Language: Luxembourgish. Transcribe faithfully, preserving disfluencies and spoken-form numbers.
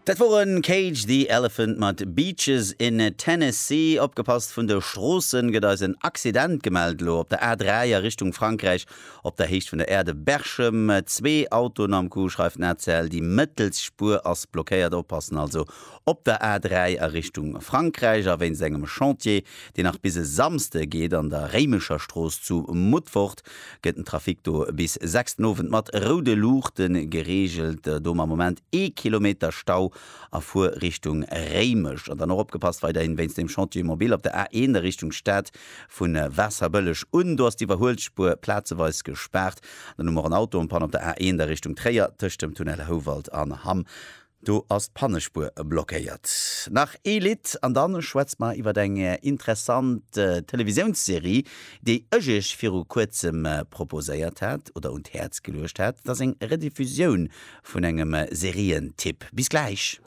Dat woren Cage the Elephant mat Beaches in Tennessee. Opgepasst, vun de Stroossen gëtt eis en Accident gemellt lo op der A dräi a Richtung Frankräich op der Héicht vun der Aire de Berchem. Zwee Autoen am Coup, schreift den A C L. Déi mëttelst Spuer ass blockéiert. Oppassen also op der A dräi a Richtung Frankräich. A wéinst engem Chantier, deen nach bis e Samschde geet an der Réimecher Strooss zu Mutfert, gëtt den Trafic do bis sechs den Owend mat roude Luuchte gereegelt. Do am Moment ee Kilometer Stau a Fuerrichtung Réimech. An dann och opgepasst weiderhin wéinst dem Chantier mobile op der A eent a Richtung Stad vu Waasserbëlleg un. Do ass d'Iwwerhuelspuer plazeweis gespaart. Dann hu mer en Auto en panne op der A eent a Richtung Tréier tëscht dem Tunnel Houwald an Hamm. Do ass d'Pannespuer blockéiert. Nach ee Lidd an dann schwätze mer iwwer eng interessant Televisiounsserie, déi ech iech viru kuerzem proposéiert hat oder un d'Häerz geluecht hat. Dat ass eng Rediffusioun vun engem Serientipp. Bis gläich.